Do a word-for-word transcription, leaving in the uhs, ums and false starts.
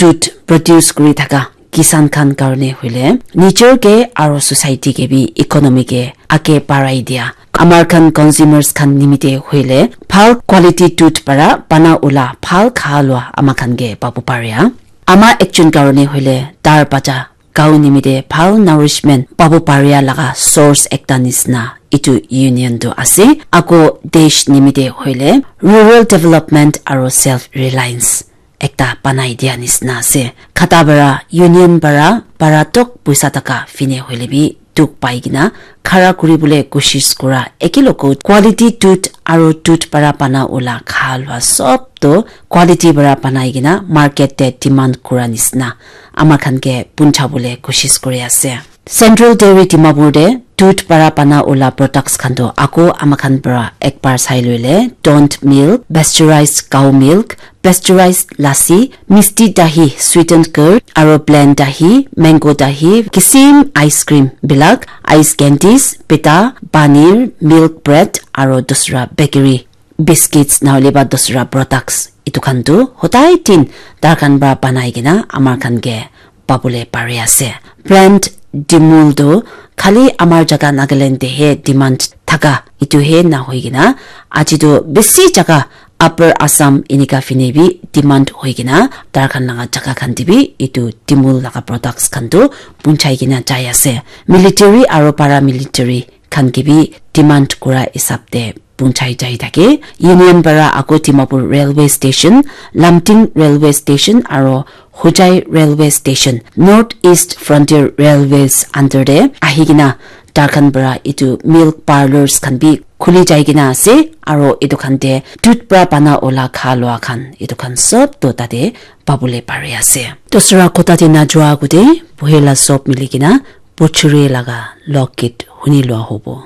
dudh produce kuri thaka kisan khan karne hoile nijor ke aro society ke bi economy ke age barai dia. Amar khan consumers khan nimite hoile bhal quality dudh para bana ula bhal kha lua ama khan ke pabu paria. Ama ekjon karne hoile tar bacha gau nimite bhal nourishment pabu paria laga source ekta nisna itu union tu ase. Ako desh nimite hoile rural development aro self reliance ekta banai dia nisna ase. Khata para union para para tok puisa taka fine hoile bi dukh pai kena khara kuri bole koshish kura eke logot quality dudh aro dudh para bana ula kha lua sob to quality para banai kena market te demand kura nisna ama khan ke puncha bole koshish kuri ase. Central Dairy Dimapur te dudh para bana ula products khan to ako ama khan para ekbar sai loile, don't milk, pasteurized cow milk, pasteurized lassi, misti dahi, sweetened curd, aro blend dahi, mango dahi, kisim ice cream bilak, ice candies, pita, paneer, milk bread, aro dusra bakery biscuits nahole ba dusra products itu khan tu hodai din tar khan para banai kena amar khan ke pabole pari ase. Brand Dimul tu khali amar jaga Nagaland te he demand thaka itu he na hoi kena aji tu bisi jaga Upper Assam inika fine bi demand hoi kena tar khan laga jaga khan te bi itu Dimul laga products khan tu punchai kena jai ase. Military aro paramilitary khan ke bi demand kura hisab te punchai jai thake. Union para ako Dimapur Railway Station, Lamting Railway Station aro Hojai Railway Station, North East Frontier Railways under te ahi kena tar khan para itu milk parlors khan bi khuli jai kena ase aro itu khan te dudh para bana ola kha lua khan itu khan sob to tate pabole pari ase. Dusra kotha te na jua agute buhela sob mili kena Pochuri laga lokgit huni lua hobo.